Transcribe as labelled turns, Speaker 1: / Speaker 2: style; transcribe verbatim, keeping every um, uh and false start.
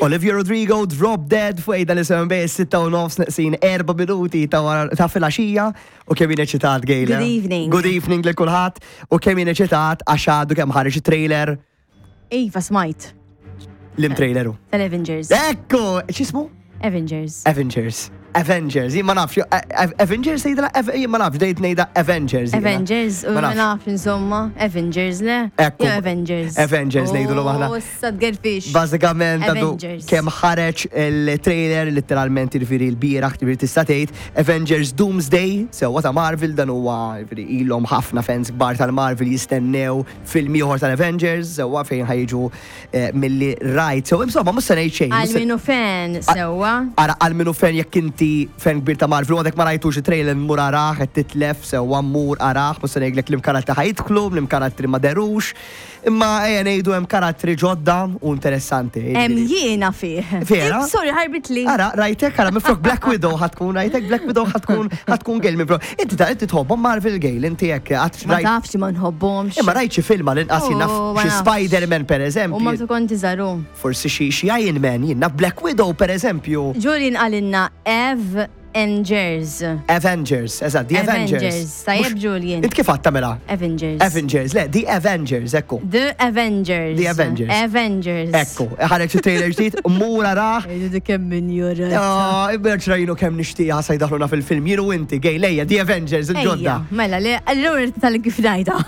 Speaker 1: Olivia Rodrigo, Drop Dead, fuq Ejda l-S M B, sitta u nofs neqsin erba' minuti ta' wara- ta' filgħaxija u kemm jien eċitat, Gejla.
Speaker 2: Good evening.
Speaker 1: Good evening lil kulħadd u kemm jien eċitat għax għadu kemm ħareġ trailer.
Speaker 2: Iva, smajt.
Speaker 1: Liema trailer hu?
Speaker 2: Tal-Avengers.
Speaker 1: Ekku, x'ismu?
Speaker 2: Avengers.
Speaker 1: Avengers. Avengers, jien ma nafx, Avengers tgħidla, jien ma nafx, dejt ngħidha Avengers jiena.
Speaker 2: Avengers, u
Speaker 1: Ma
Speaker 2: ma
Speaker 1: nafx.
Speaker 2: Nafx insomma. Avengers, le?
Speaker 1: Ekku.
Speaker 2: Jew Avengers.
Speaker 1: Avengers ngħidulu aħna.
Speaker 2: Oh, issa tgerfix.
Speaker 1: Bażikament għadu
Speaker 2: Avengers.
Speaker 1: kemm ħareġ il-trailer, literalment jiġifieri l-bieraħ, jiġifieri tista' tgħid Avengers Doomsday, sewwa, ta' Marvel. Dan huwa jiġifieri ilhom ħafna fans kbar tal-Marvel jistennew film ieħor tal-Avengers, sewwa, fejn ħa jiġu eh, milli rajt. So insomma mhux se ngħid xejn.
Speaker 2: Għal
Speaker 1: mhux se-
Speaker 2: minu fan, sewwa.
Speaker 1: Ara, għal minu fan, jekk inti fan kbir ta' Marvel u għadek ma rajtux il-trailer, mur arah, qed titlef, sewwa, mur arah. Mhux se ngħidlek liema karattri ħa jidħlu, liema karattri ma derux, imma ejja ngħidu hemm karattri ġodda u interessanti.
Speaker 2: Em jiena fih.
Speaker 1: Vera?
Speaker 2: Sorry, ħarbitli.
Speaker 1: Ara, rajtek, ara, minflok Black Widow ħa tkun, rajtek, Black Widow ħa tkun, ħa tkun Gail minflok. Inti ta' inti tħobbhom Marvel, Gail, inti jekk għad
Speaker 2: Ma
Speaker 1: rajt.
Speaker 2: tafx ma nħobbhomx.
Speaker 1: Imma rajt xi film l-inqas, jien naf
Speaker 2: Oh, ma
Speaker 1: xi
Speaker 2: nafx.
Speaker 1: Spider-Man per
Speaker 2: U ma
Speaker 1: eżempju,
Speaker 2: konti zaru.
Speaker 1: Forsi xi xi Iron Man, jien naf Black Widow per eżempju.
Speaker 2: Julian qalilna Avengers.
Speaker 1: Avengers, eżatt, The Avengers.
Speaker 2: Avengers. Tajjeb,
Speaker 1: Mhux-
Speaker 2: Julian.
Speaker 1: Int kif għadtha mela?
Speaker 2: Avengers.
Speaker 1: Avengers, le, The Avengers, ekku.
Speaker 2: The Avengers.
Speaker 1: The Avengers.
Speaker 2: Avengers.
Speaker 1: Ekku, ħareġ il-trailer ġdid, mur arah.
Speaker 2: Ejdu dik kemm min jura.
Speaker 1: Ah, Ibberġ rajnu kemm nixtieqa sa jdaħluna fil-film. Jiru inti, Gail, ejja, The Avengers, il-ġodda.
Speaker 2: Ejja, mela, le, allura tal kif ngħidha.